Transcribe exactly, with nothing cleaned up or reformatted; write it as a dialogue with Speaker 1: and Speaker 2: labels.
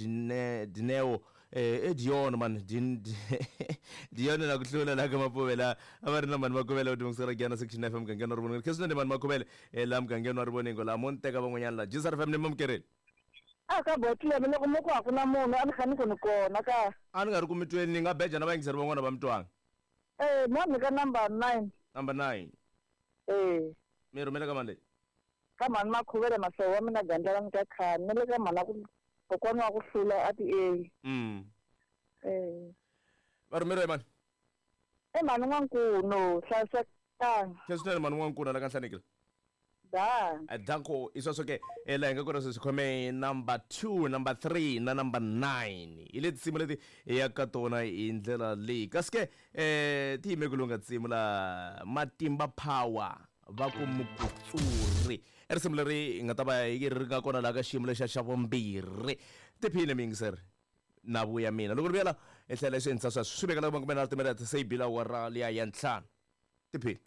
Speaker 1: Dine Dineo eh e Dion man Din Dion na ku hlula la ka Mapuvela a va ri na mani Makhuvele u timukisela Giyani Section F M mugangeni wa Rivoningo. Khe swinene mani Makhuvele eh la mugangeni wa Rivoningo la mo ni teka van'wanyana la G S R F M ni mamukereni.
Speaker 2: A ka botlele loko mo ku a ku na munhu a ni kha ni ku ni kona ka.
Speaker 1: A ni nga ri ku mitweni ni nga beja na vayingiseri van'wana va mitwanga.
Speaker 2: Eh mo ni ka number nine.
Speaker 1: Number nine.
Speaker 2: Eh.
Speaker 1: Mi rhumela ka mani leyi?
Speaker 2: Ka mani Makhuvele mahlovo wa mina gandlana ni ka khani ni le ka mhana ku kokwana wa ku hlula a ti e.
Speaker 1: Mm.
Speaker 2: Eh.
Speaker 1: Va rhumeriwa hi mani?
Speaker 2: E mani N'wankuno hlayisekanga.
Speaker 1: Khe swinene mani N'wankuna la ka Nhlanekile.
Speaker 2: Da.
Speaker 1: Danko isweswo ke la hi nga kona sweswi khome number two, number three na number nine. Hi leti tinsimu leti hi ya ka tona hi ndlela leyi. Kasi ke eh ti yime ku lunga tinsimu la Matimba Power va ku Mukutsuri. I risimu leri hi nga ta va hi ri nga kona laha ka xiyimo lexa xa vumbirhi. Tiphine miyingiseri na vuya mina. Loko ri vuya la hi tlhela hi swi endlisa sweswo. Swi vekela makume na timinete se yi bila awara liya ya ntlhanu. Tiphine.